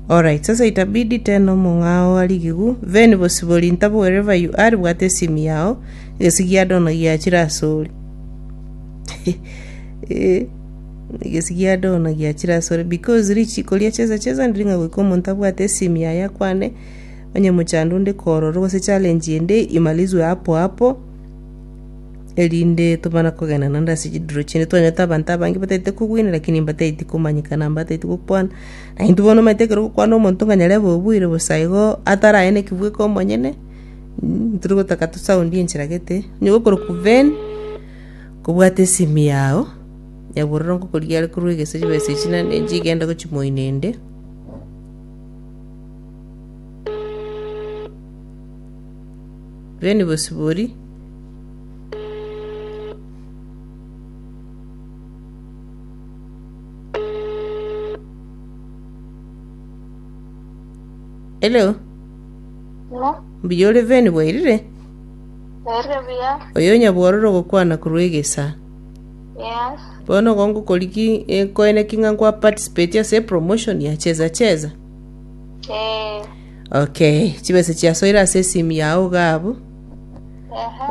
Alright, sasa itabidi tena omong'ao arigigu Veni Bosibori ntabo wherever you are bwata esimi yao egesi gia Dona giachire asore Eh, egesi gia Dona giachire asore because richiko ria cheza cheza ndiri ng'a goika omonto abwate esimi yaye akwane onye mochando onde kororo gose challenge ende imalizwe hapo hapo erinde tobana kogenda naende ase chiduro chinde twanyete abanto abange bataete kogwina lakini mbataeti komanyekana mbataeti gokwana. Na intwe bono omanyete ekero ogokwana omonto ng'a nyarebe obuire bosa igo ataraene ki bweka omonyene, ntori gotaka tosound enchera gete, onye gokorokwa Ben, kobwate esimi yago, nyabororo ngokorigia are korwa egese chibesa echi naende nchigende gochia moino ende. Ben Bosibori. Hello, Hello, mbuya ore Ben bwairire? Bwairire buya? Oyo nyabwororo ogokwana korwa egesa. Yes. Bono igo ngokoriki nkoeneki ng'a nkwa participate ase epromotion ya cheza cheza. Eh. Okay, chibesa chiasoire ase esimu yao iga abwo. Ehe.